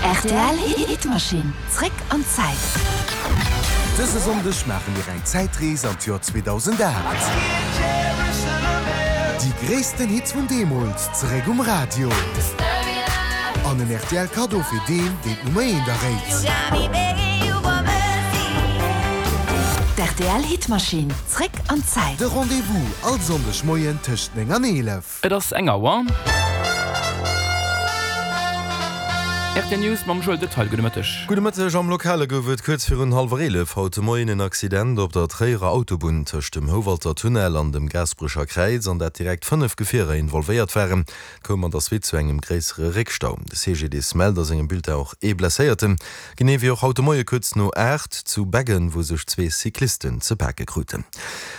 Rtl Hitmaschinn, zréck an d'Zäit. Dëse Sonndeg maache mir eng Zäitrees an d'Joer 2008. Déi gréissten Hits vun deemools zeréck um Radio. An en rtl Kaddo fir deen, deen d'Nummer eent erréit. D'RTL Hitmaschinn, zréck an d'Zäit. De Rendez-vous all Sonndeg Moien tëscht 9 an 11. Et ass eng Auer. Rtl News mam Joël Detaille. Gudde Mëtteg. Gudde Mëtteg. Am Lokale gouf et kuerz virun hallwer 11 haut de Moien en Accident op der Tréierer Autobunn tëscht dem Houwalter Tunnel an dem Gaasperecher Kräiz, an dat direkt 5 Gefierer involvéiert waren. Et koum an der Suite zu engem gréissere Réckstau. De CGDIS mellt a sengem Bulletin och ee Blesséierten. Genee wéi och haut de Moie kuerz no 8 zu Beggen, wou sech zwee Cyclisten ze pake kruten.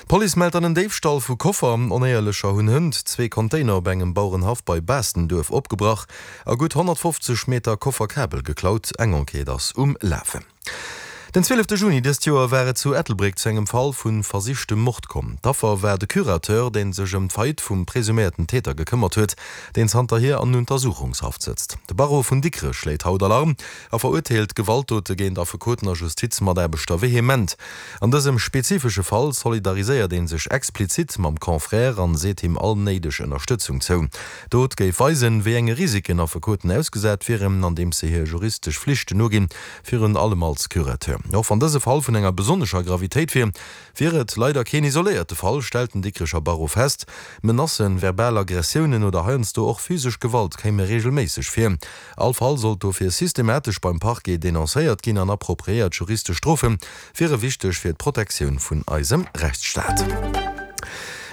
D'Police mellt dann en Déifstall vu Koffer. Onéierlecher hunn hënt zwee Container op engem Bauerenhaff bei Baastenduerf opgebrach a gutt 150 Meter Kofferkabel geklaut. Eng Enquête ass um Lafen. Den 12 Juni dëst Joer war et zu Ettelbréck zu engem Fall vu versichtem Mord komm. D'Affer war de Curateur, dee sech ëm d'Faillite vum presuméierten Täter gekëmmert huet, deen zanterhier an Untersuchungshaft sëtzt. De Barreau vun Dikrech schléit haut Alarm a verurteelt Gewaltdote géint Affekoten a Justizmataarbechter vehement. An dësem spezifesche Fall solidariséiert ee sech explizit mam Confrère an seet him all néideg Ënnerstëtzung zou. D'Dot géif weisen, wéi enge Risiken Affekoten ausgesat wieren, andeems se hir juristesch Flichten noginn, virun allem als Curateur. Och wann dëse Fall vun enger besonnescher Gravitéit wier, wier et leider keen isoléierte Fall, stellt den Dikrecher Barreau fest. Menacen, verbal Aggressiounen oder heiansdo och physesch Gewalt kéime reegelméisseg vir. All Fall sollt dofir systematesch beim Parquet denoncéiert ginn an appropriéiert juristesch Strofe wiere wichteg fir d'Protektioun vun eisem Rechtsstaat.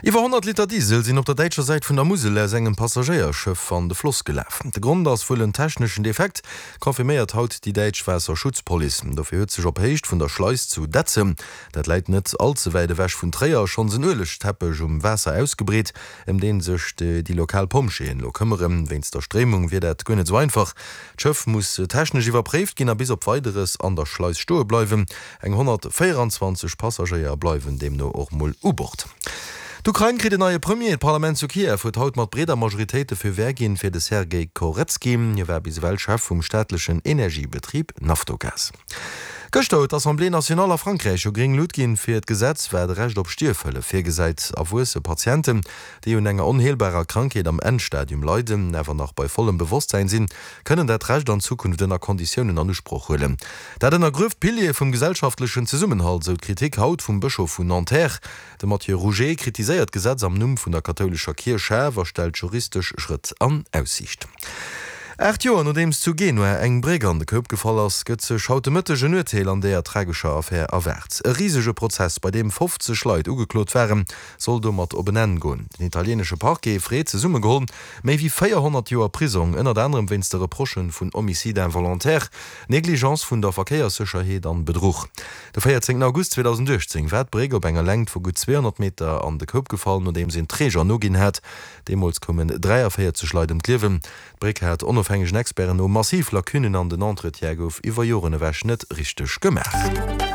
Iwwer 100 Liter Diesel sinn op der däitscher Säit vun der Musel aus engem Passagéierschëff an de Floss gelaf. De Grond ass wuel en techneschen Defekt, confirméiert haut déi däitsch Waasserschutzpolice. Dofir huet sech op Héicht vun der Schleis zu Detzem, dat läit net all ze wäit ewech vun Tréier, schonns en Uelegteppech um Waasser ausgebreet. ëm deen sech déi lokal Pompjeeën elo këmmeren. Wéinst der Stréimung wier dat guer net esou einfach. D'Schëff muss technesch iwwerpréift ginn a bis op Weideres an der Schleis stoe bleiwen. Eng 124 Passagéier bleiwen deemno och mol u Bord. D'Ukrain kritt en neie Premier. D'Parlament zu Kiew huet haut mat breeder Majoritéit de Feu vert ginn fir de Sergej Koretski. Hie war bis ewell Chef vum staatlechen Energiebetrib Naftogaz. Gëschter huet d'Assemblée nationale a Frankräich jo gréng Lut ginn fir d'Gesetz, wat e Recht op Stierfhëllef virgesäit. Erwuesse Patienten, déi un enger onheelbarer Krankheet am Endstadium leiden, awer nach bei vollem Bewosstsäin sinn, kënnen dat Recht an Zukunft ënner Konditiounen an Usproch huelen. Dat ënnergrueft d'Piliere vum gesellschaftlechen Zesummenhalt, sou d'Kritik haut vum Bëschof vun Nanterre. De Mathieu Rouget kritiséiert d'Gesetz am Numm vun der kathoulescher Kierch schaarf a stellt juristesch Schrëtt an Aussiicht. 8 Joer nodeems zu Genua eng Bréck an de Koup gefall ass, gëtt sech haut de Mëtteg en Urteel an deeër tragescher Affär erwaart. E risege Prozess, bei deem 50 Leit ugeklot waren, soll domat op en Enn goen. Den italienesche Parquet freet zesummegeholl méi wéi 400 Joer Prisong, ënnert anerem wéinst de Reprochë vun Homicide involontaire, Negligence vun der Verkéierssécherheet an Bedruch. De 14 August 2018 war d'Bréck op enger Längt vu gutt 200 Meter an de Koup gefall, nodeems een Träger noginn hat. Deemools koumen 43 Leit ëm d'Liewen. D'Bréck hat onofhängegen Experten no massiv Lacunnen an den Entretien gouf iwwer Joren ewech net richteg gemaach.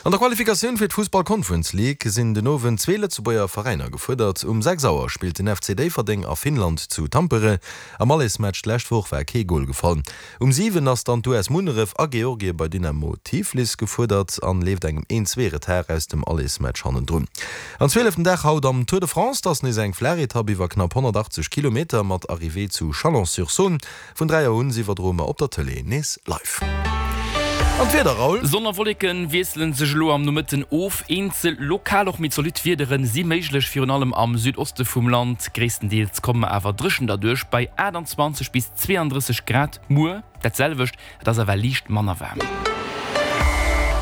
An der Qualifikatioun fir d'Fussball Conference League sinn den Owend zwee Lëtzebuerger Veräiner gefuerdert. Um 6 Auer spillt den FC Déifferdeng a Finnland zu Tampere. Am Allesmatch d'lescht Woch war kee Gol gefall. Um 7 ass dann d'US Munneref a Georgie bei Dynamo Tiflis gefuerdert an leeft engem een zwee Retard aus dem Allesmatch hannendrun. An zwieleften Dag haut am Tour de France, 't ass nees eng flaach Etapp iwwer knapp 180 Kilometer mat Arrivée zu Chalon-sur-Saône. Vun 3 Auer un iwwerdroe mer op der Tëlee nees live. An d'Wieder, Raoul? Sonn a Wolleken wiesselen sech elo am Nomëtten of. Eenzel lokal och méi zolidd Wiederen si méiglech, virun allem am Südoste vum Land. Gréisstendeels komme mer awer dréchen derduerch bei 28 bis 32 Grad. Muer dat selwecht, et ass awer liicht manner waarm.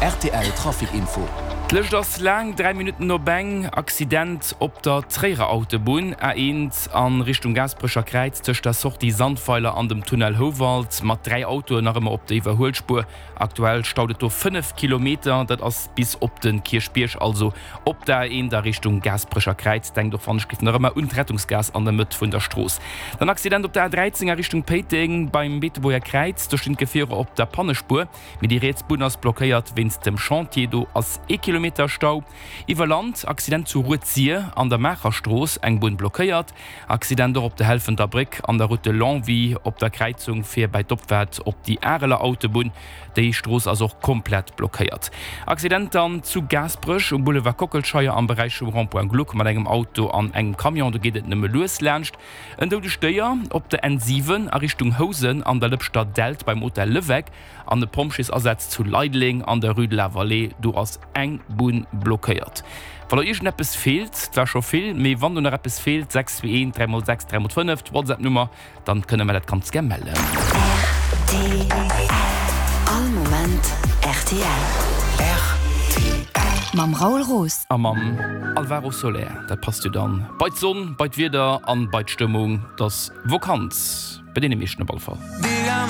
Rtl Trafic Info. D'Lëscht ass laang, 3 Minutten op eng. Accident op der Tréierer Autobunn A1 a Richtung Gaasperecher Kräiz tëscht der Sortie Sandweiler an dem Tunnel Houwald mat 3 Autoen nach ëmmer op der Iwwerhuelspuer. Aktuell staut et do 5 Kilometer, dat ass bis op de Kierchbierg, also op der A1 a Richtung Gaasperecher Kräiz. Denkt och wann ech giff nach ëmmer un d'Rettungsgaass an der Mëtt vun der Strooss. Den Accident op der A13 a Richtung Péiteng beim Beetebuerger Kräiz, do stinn d'Gefierer op der Pannespuer, mee déi riets Bunn ass blockéiert wéinst dem Chantier. Do ass ee Kilometer. Kilometer Stau. Iwwer Land, Accident zu Rued-Sir an der Maacher Strooss, eng Bunn blockéiert. Accident och op der Helfenter Bréck an der Route de Longwy op der Kräizung fir bäi d'Opfaart op déi Areler Autobunn. Déi Strooss ass och komplett blockéiert. Accident dann zu Gaasperech um Boulevard Kockelscheier am Beräich vum Rond-point Gluck mat engem Auto an engem Camion. Do geet et nëmme lues laanscht. En doudegt Déier op der N7 a Richtung Housen an der Lëpschter Dällt beim Hotel Leweck an e Pompjeesasaz zu Leideleng an der Rue de la Vallée. Do ass eng Bunn blockéiert. Wann der iergendeppes feelt, 't war scho vill, mee wann do nach eppes feelt, 6 2 1 3 mol 6 3 mol 5, d'Whatsapp-Nummer, dann kënne mer dat ganz gär mellen. Rtl, All Moment rtl. Rtl. Mam Raoul Roos. A mam Alvaro Soler. Dat passt jo dann bei d'Sonn, bei d'Wieder an bei d'Stëmmung. 't ass Vokanz, bei deene meeschten op alle Fall.